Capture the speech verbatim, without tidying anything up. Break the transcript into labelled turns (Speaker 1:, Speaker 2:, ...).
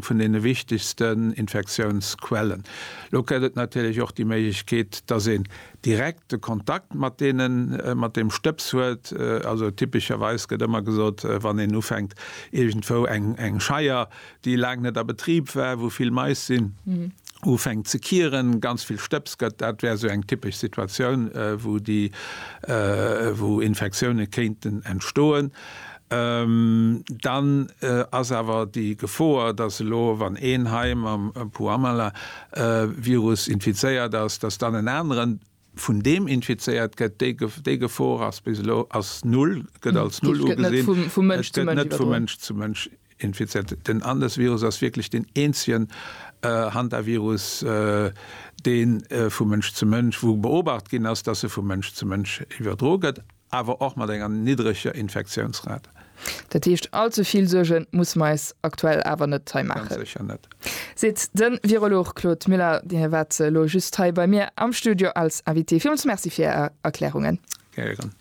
Speaker 1: eng vun deene wichtegsten Infektiounsquellen. Lo gëtt et natierlech och déi Méiglechkeet, dass een direkte Kontakt mat deenen, mat deem Stëbs huet. Also typescherweis gëtt ëmmer gesot, wann een ufänkt iergendwou eng eng Scheier, déi laang net a Betrib war, wou vill Mais sinn, ufänkt ze kieren, ganz vill Stëbs gëtt, dat wär esou eng typesch Situatioun, wou déi, wou Infektioune kéinten entstoen. Dann ass awer déi Gefoer, dass elo, wann een hei mam Puumala-Virus infizéiert ass, dass dann en aneren vun deem infizéiert gëtt, déi Gefor ass bis elo ass null, gëtt als null ugesinn. Et gëtt net vu Mënsch zu Mënsch infizéiert. Den Andes-Virus ass wierklech deen eenzegen Hantavirus, dee vu Mënsch zu Mënsch, wou beobacht ginn ass, dass e vu Mënsch zu Mënsch iwwerdroe gëtt. Awer och mat enger niddreger Infektiounsrate.
Speaker 2: Dat heescht, all ze vill Suerge musse mer eis aktuell awer net hei maachen.
Speaker 1: Ganz sécher net.
Speaker 2: Seet de Virolog Claude Muller. Dir waart elo just hei bei mir am Studio als Invité. Villmools Merci fir Är Erklärungen.
Speaker 1: Gären.